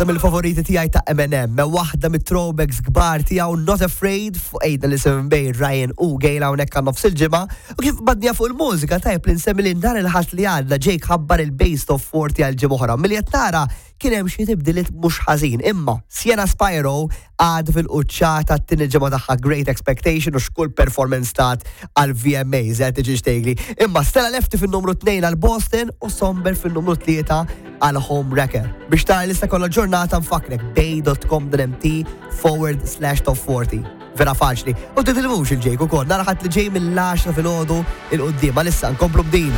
Mill-favoriti tiegħi ta' Eminem, me waħda mit-throwbacks kbar tiegħu Not Afraid fuq ejda li seven bej Ryan u Gail hawnhekk għan nofs il-ġimgħa u kif badnija fuq il-mużika tajb li nsemmi li nhar il-Ħadd li għadda Jake ħabbar il-Best of 40 għal ġimgħa oħra. Milli qed nara kien hemm xi tibdiliet mhux ħażin, imma Sienna Spiro għad fil-quċċata t-tieni ġimgħa tagħha Great Expectation u x'kull performance tat għal VMAs qed tiġi xtejgli. Imma Stella Lefty fin-numru 2 għal Boston u Somber fin-numru 3 għal Home Wrecker. Biex tara lista kollha ġurnata nfakkrek bay.com.mt/top40. Vera faċli. U titilmux il-ġejk ukoll, nara ħadd li ġej mill-10 filgħodu il-qudiem. Għalissa nkomplu b'din.